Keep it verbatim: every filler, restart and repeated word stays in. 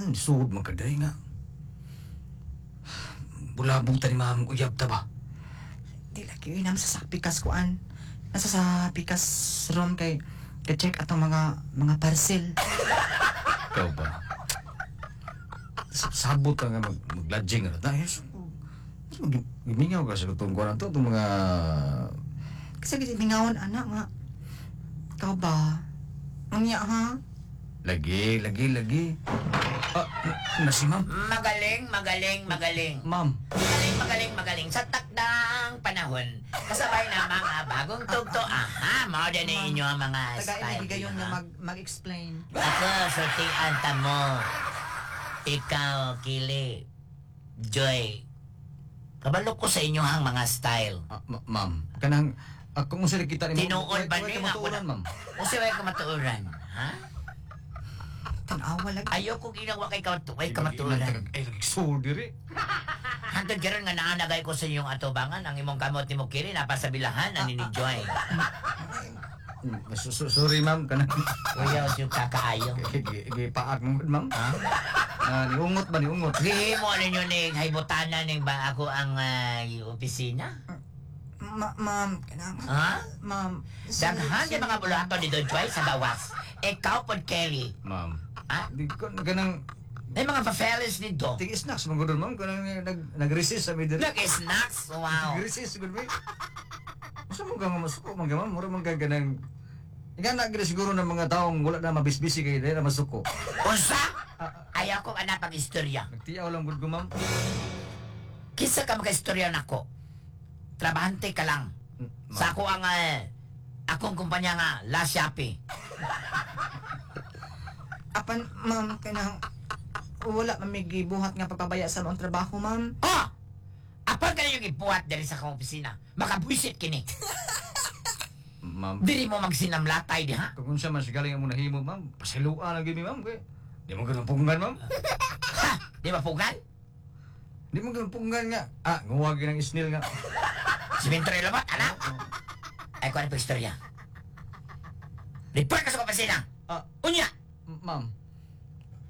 Ano, Suod man kaday nga. Bulabog ta ni ma'am, uyab ta ba? Di lagi yun sa sa pikas kuan. Nasa sa pikas room kay ka-check atong mga mga parcel. Ikaw ba? Sa- Sabot ka nga mag, mag-lodging na tayo. Gimingaw ka sa itong kuwan to, itong mga. Kasi gimingawon anak nga. Ikaw ba? Unya ha? Lagi, lagi, lagi. Ah, na si ma'am. Magaling, magaling, magaling. Ma'am. Magaling, magaling, magaling. Sa takdang panahon, kasabay na mga bagong tugto. Aha, mao din inyo ang mga Tagain style. lagi gayon nga ha? mag mag-explain. Ako, sultian ta mo. Ikaw, Kili. Joy. Kabalo ko sa inyo ang mga style. Ah, ma- ma'am, kanang ah, kung unsa kita ni Tinuod ba ni ni matuoran, ma'am? Unsa way kamatuoran, ha? Tanawa lagi. Ayoko ginawa kay kamatuoy kamatuoran. Ay, lagi suod diri. Hangtod karon nga naanagay ko sa inyong atubangan ang imong kamot nimo Kili napa sa bilahan ani ni Joy. Mm, so- so- Sorry, ma'am, kanang Kuya siyo kakaayo. gipaak mo ma'am. Ha? Ah, niungot ba niungot? Gihimo ninyo ning haybutanan ning ba ako ang ah, opisina? Ma ma'am, kanang Ha? ma'am. Daghan yung mga bulaton ni Don Joy sa gawas. Ikaw pod Kelly. Ma'am. Ha? Di ko kanang May mga pafeles dito. ting snacks man gud ma'am kanang nag nag-resist sa mi diri. Nag-snacks. Wow. Nag-resist gud mi. Usa mo ka nga masuko man ka ma'am, mura man ka kanang Ingana gid siguro ng mga taong wala na mabisbisi kay dili na masuko. Unsa? Ayaw ko ana pag istorya. Nagtiyaw lang gud ko ma'am. Kinsa ka maka-istorya nako? Trabahante ka lang. Sa ako ang eh, akong kumpanya nga La Shopee. Apan ma'am kanang wala man may gibuhat nga pagpabaya sa among trabaho, ma'am. Oh! Apan ka yung ibuhat diri sa akong opisina. Makabuisit kini. Ma'am, Diri mo magsinamlatay di ha? kung unsa man sigaling ang nahimo ma'am, pasiluan lang gyud mi ma'am kay di mo ganun punggan ma'am. Ha? Di ba pugan? Di mo ganun punggan nga. Ah, nguwag ng isnil nga. Simentro yung labot, anak. Ay, kuha na po istorya. Report ka sa opisina. Ah, Unya! ma'am.